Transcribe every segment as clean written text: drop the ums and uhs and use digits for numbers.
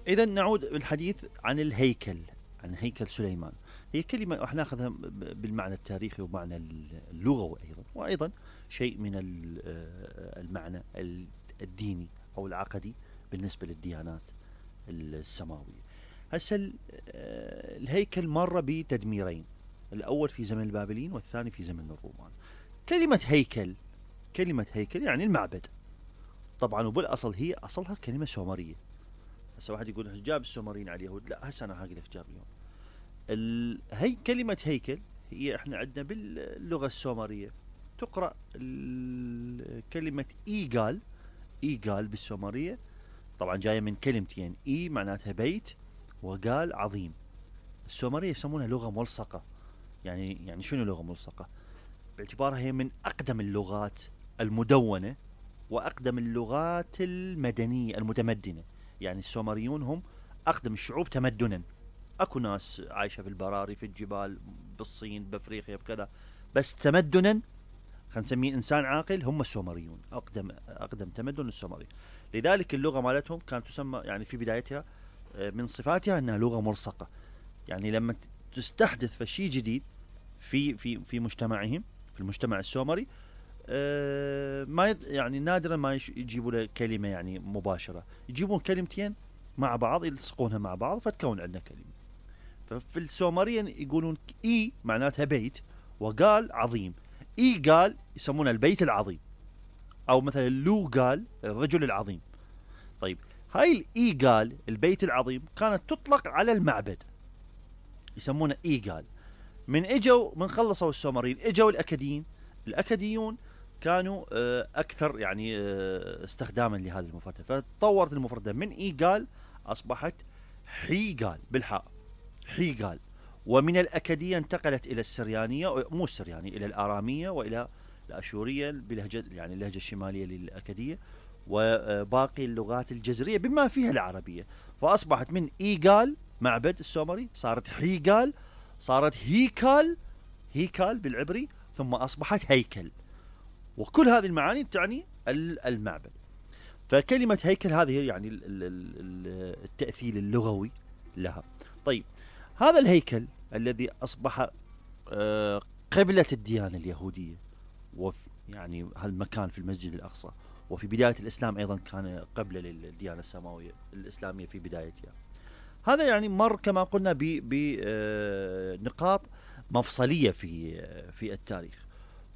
إذا نعود بالحديث عن الهيكل، عن هيكل سليمان. هي كلمة راح ناخذها بالمعنى التاريخي ومعنى اللغوي أيضا، وأيضا شيء من المعنى الديني أو العقدي بالنسبة للديانات السماوية. هسه الهيكل مر بتدميرين، الأول في زمن البابليين والثاني في زمن الرومان. كلمة هيكل، كلمة هيكل يعني المعبد طبعا، وبالأصل هي أصلها كلمة سومرية. هسه واحد يقول جاب السومريين على اليهود، لا هسه أنا هقول لك جاب اليوم. هي كلمة هيكل هي احنا عندنا باللغة السومرية تقرأ كلمة إيجال. إيجال بالسومرية طبعا جاية من كلمتين، إي معناتها بيت وقال عظيم. السومرية يسمونها لغة ملصقة. يعني شنو لغة ملصقة؟ باعتبارها هي من أقدم اللغات المدونة وأقدم اللغات المدنية المتمدنة. يعني السومريون هم أقدم الشعوب تمدنا. أكو ناس عايشة في البراري في الجبال بالصين بأفريقيا بكذا، بس تمدنا خلينا نسميه إنسان عاقل هم السومريون، أقدم تمدن السومري. لذلك اللغة مالتهم كانت تسمى يعني في بدايتها من صفاتها أنها لغة ملصقة. يعني لما تستحدث شيء جديد في مجتمعهم، في المجتمع السومري، ما يعني نادرا ما يجيبوا له كلمة يعني مباشرة، يجيبون كلمتين مع بعض يلصقونها مع بعض فتكون عندنا كلمة. ففي السومرية يقولون إي معناتها بيت، وقال عظيم. إي قال يسمونه البيت العظيم، أو مثلا لو قال الرجل العظيم. طيب هاي الإي قال البيت العظيم كانت تطلق على المعبد، يسمونه إي قال. من خلصوا السومريين اجوا الأكديين. الأكديون كانوا أكثر يعني استخداما لهذه المفردة، فتطورت المفردة من إي قال أصبحت حي قال بالحاء، حي قال. ومن الأكدية انتقلت إلى السريانية، مو السريانية، إلى الآرامية وإلى الأشورية بلهجة يعني اللهجة الشمالية للأكدية، وباقي اللغات الجزرية بما فيها العربية. فأصبحت من إيقال معبد السومري صارت حيقال، صارت هيكال، هيكال بالعبري، ثم أصبحت هيكل. وكل هذه المعاني تعني المعبد. فكلمة هيكل هذه يعني التأثير اللغوي لها. طيب هذا الهيكل الذي أصبح قبلة الديانة اليهودية، يعني هالمكان في المسجد الأقصى، وفي بداية الإسلام أيضا كان قبلة للديانة السماوية الإسلامية في بدايتها. هذا يعني مر كما قلنا بنقاط مفصلية في التاريخ،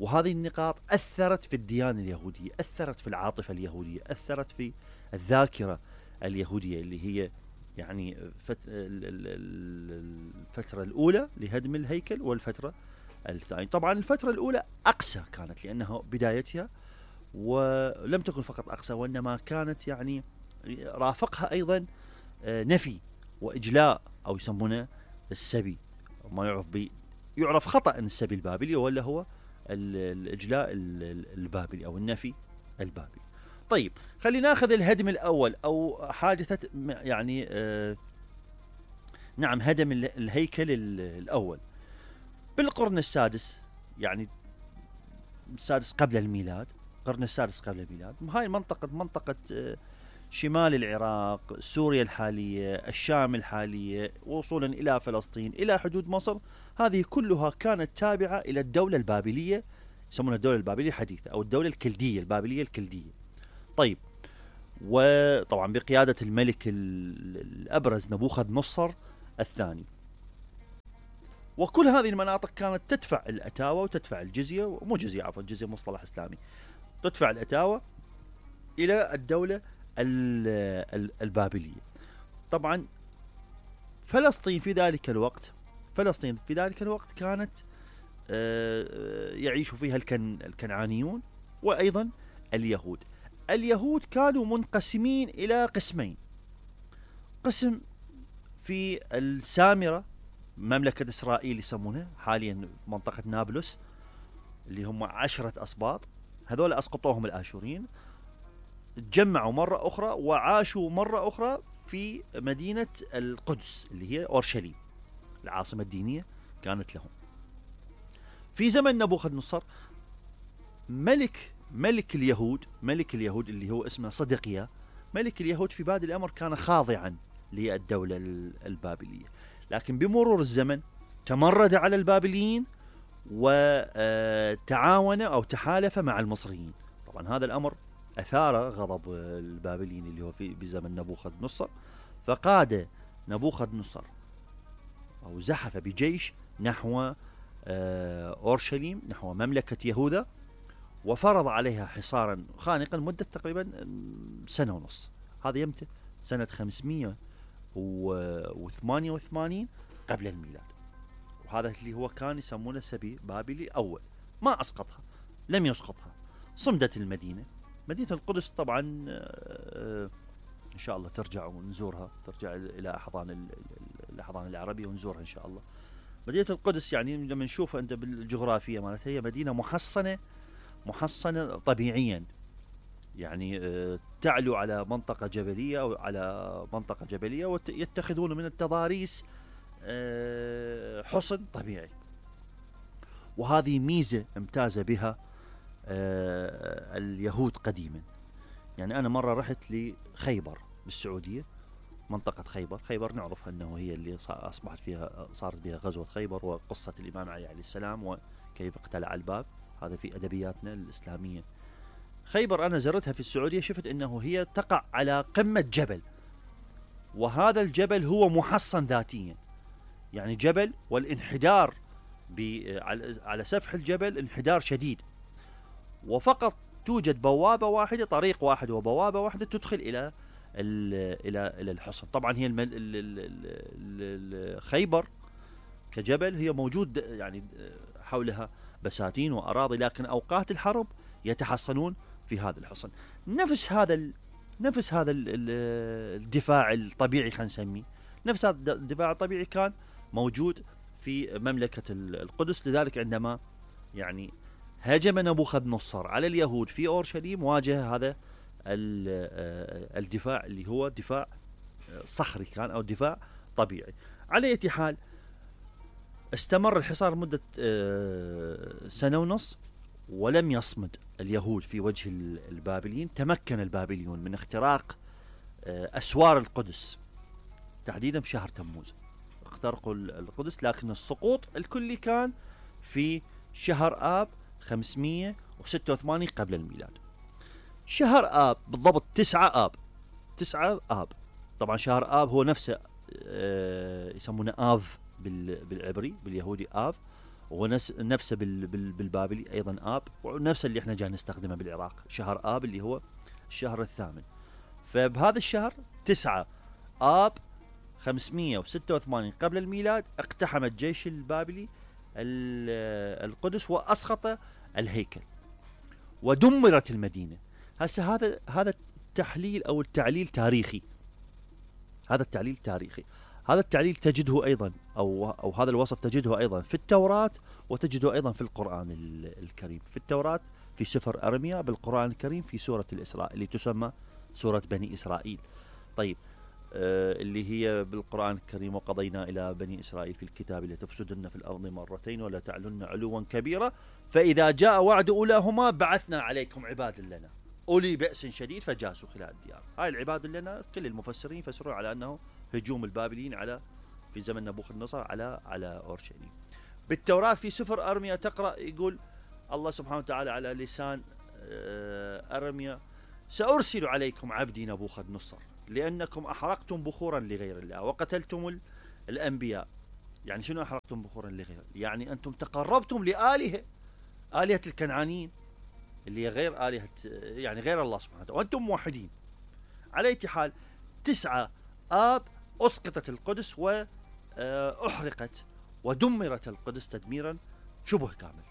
وهذه النقاط أثرت في الديانة اليهودية، أثرت في العاطفة اليهودية، أثرت في الذاكرة اليهودية اللي هي يعني الفترة الأولى لهدم الهيكل والفترة الثانية. طبعا الفترة الأولى أقسى كانت لأنها بدايتها، ولم تكن فقط أقسى وإنما كانت يعني رافقها أيضا نفي وإجلاء، أو يسمونه السبي، ما يعرف خطأ أن السبي البابلي ولا هو الإجلاء البابلي أو النفي البابلي. طيب خلينا ناخذ الهدم الأول أو حادثة يعني نعم هدم الهيكل الأول بالقرن السادس، يعني السادس قبل الميلاد، القرن السادس قبل الميلاد. هاي منطقة شمال العراق، سوريا الحالية، الشام الحالية، وصولا إلى فلسطين، إلى حدود مصر، هذه كلها كانت تابعة إلى الدولة البابلية، يسمونها الدولة البابلية الحديثة أو الدولة الكلدية، البابلية الكلدية. طيب وطبعا بقيادة الملك الأبرز نبوخذ نصر الثاني. وكل هذه المناطق كانت تدفع الأتاوة وتدفع الجزية، مو جزية عفوا، الجزية مصطلح إسلامي، تدفع الأتاوة إلى الدولة البابلية. طبعا فلسطين في ذلك الوقت كانت يعيش فيها الكنعانيون وأيضا اليهود. اليهود كانوا منقسمين إلى قسمين، قسم في السامرة، مملكة إسرائيل يسمونها حاليا منطقة نابلس، اللي هم 10 أسباط، هذول أسقطوهم الآشوريين، تجمعوا مرة أخرى وعاشوا مرة أخرى في مدينة القدس اللي هي أورشليم، العاصمة الدينية كانت لهم. في زمن نبوخذ نصر ملك اليهود اللي هو اسمه صدقيا، ملك اليهود في بادئ الأمر كان خاضعا للدولة البابلية. لكن بمرور الزمن تمرد على البابليين وتعاون أو تحالف مع المصريين. طبعا هذا الأمر أثار غضب البابليين اللي هو في بزمن نبوخذ نصر، فقاد نبوخذ نصر أو زحف بجيش نحو أورشليم، نحو مملكة يهوذا، وفرض عليها حصارا خانقا مدة تقريبا سنة ونص. هذا يمتى سنة 588 قبل الميلاد. وهذا اللي هو كان يسمونه سبي بابلي الأول. ما أسقطها، لم يسقطها، صمدت المدينة. مدينة القدس طبعا إن شاء الله ترجع ونزورها، ترجع إلى الأحضان العربية ونزورها إن شاء الله. مدينة القدس يعني لما نشوفها أنت بالجغرافية مالتها هي مدينة محصنة طبيعيا، يعني تعلو على منطقة جبلية أو على منطقة جبلية ويتخذون من التضاريس حصن طبيعي. وهذه ميزة امتاز بها اليهود قديما. يعني أنا مرة رحت لخيبر بالسعودية، منطقة خيبر نعرف أنه هي اللي صارت بها غزوة خيبر، وقصة الإمام علي عليه السلام وكيف اقتلع الباب، هذا في أدبياتنا الإسلامية. خيبر أنا زرتها في السعودية، شفت أنه هي تقع على قمة جبل، وهذا الجبل هو محصن ذاتيا، يعني جبل، والانحدار على سفح الجبل انحدار شديد، وفقط توجد بوابة واحدة، طريق واحد وبوابة واحدة تدخل إلى الحصن. طبعا هي خيبر كجبل هي موجود يعني حولها بساتين وأراضي، لكن أوقات الحرب يتحصنون في هذا الحصن. نفس هذا الدفاع الطبيعي، خلينا نسميه نفس هذا الدفاع الطبيعي كان موجود في مملكة القدس. لذلك عندما يعني هاجم نبوخذ نصر على اليهود في أورشليم، واجه هذا الدفاع اللي هو دفاع صخري كان أو دفاع طبيعي. على أي حال استمر الحصار مدة سنة ونص، ولم يصمد اليهود في وجه البابليين. تمكن البابليون من اختراق أسوار القدس، تحديدا في شهر تموز اخترقوا القدس، لكن السقوط الكلي كان في شهر آب 586 قبل الميلاد. شهر آب بالضبط 9 آب. طبعا شهر آب هو نفسه يسمونه آف بالعبري، باليهودي آف، ونفسه بالبابلي أيضا آب، ونفسه اللي احنا جاي نستخدمه بالعراق شهر آب اللي هو الشهر الثامن. فبهذا الشهر 9 آب 586 قبل الميلاد اقتحم الجيش البابلي القدس وأسقط الهيكل ودمرت المدينة. هسه هذا التحليل أو التعليل تاريخي. هذا التعليل تجده أيضا أو هذا الوصف تجده أيضا في التوراة، وتجده أيضا في القرآن الكريم. في التوراة في سفر أرميا، بالقرآن الكريم في سورة الإسراء اللي تسمى سورة بني إسرائيل. طيب اللي هي بالقرآن الكريم: وقضينا إلى بني إسرائيل في الكتاب لتفسدن في الأرض مرتين ولا تعلن علوا كبيرا فإذا جاء وعد أولاهما بعثنا عليكم عباد لنا أولي بأس شديد فجاسوا خلال الديار. هاي العباد لنا كل المفسرين يفسرون على أنه هجوم البابليين في زمن نبوخذ نصر على أورشليم. بالتوراة في سفر أرميا تقرأ يقول الله سبحانه وتعالى على لسان أرميا: سأرسل عليكم عبدي نبوخذ نصر لأنكم أحرقتم بخورا لغير الله وقتلتم الأنبياء. يعني شنو أحرقتم بخورا لغير؟ يعني أنتم تقربتم آلهة الكنعانيين اللي هي غير آلهة، يعني غير الله سبحانه وتعالى، وأنتم موحدين. على أي حال 9 آب أسقطت القدس وأحرقت ودمرت القدس تدميرا شبه كامل.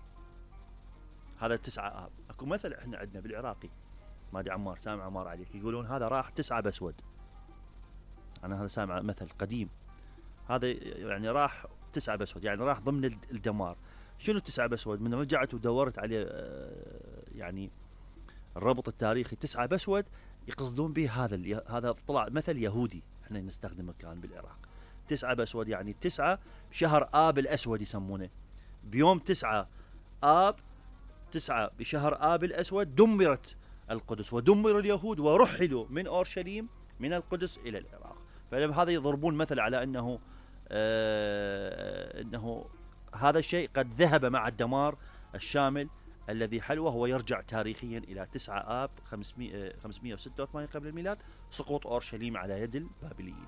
هذا 9 آب. أكو مثل إحنا عندنا بالعراقي، ما ادري عمار سامع عمار عليك، يقولون هذا راح 9 بسود. أنا هذا سامع مثل قديم، هذا يعني راح 9 بسود، يعني راح ضمن الدمار. شنو 9 بسود؟ من رجعت ودورت عليه يعني الربط التاريخي 9 بسود يقصدون به هذا طلع مثل يهودي احنا نستخدمه كان بالعراق. 9 بسود يعني 9 بشهر آب الأسود يسمونه. بيوم 9 آب 9 بشهر آب الأسود دمرت القدس ودمر اليهود ورحلوا من أورشليم من القدس إلى العراق. فهذا يضربون مثل على أنه هذا الشيء قد ذهب مع الدمار الشامل الذي حل، وهو يرجع تاريخيا إلى 9 آب 586 قبل الميلاد، سقوط أورشليم على يد البابليين.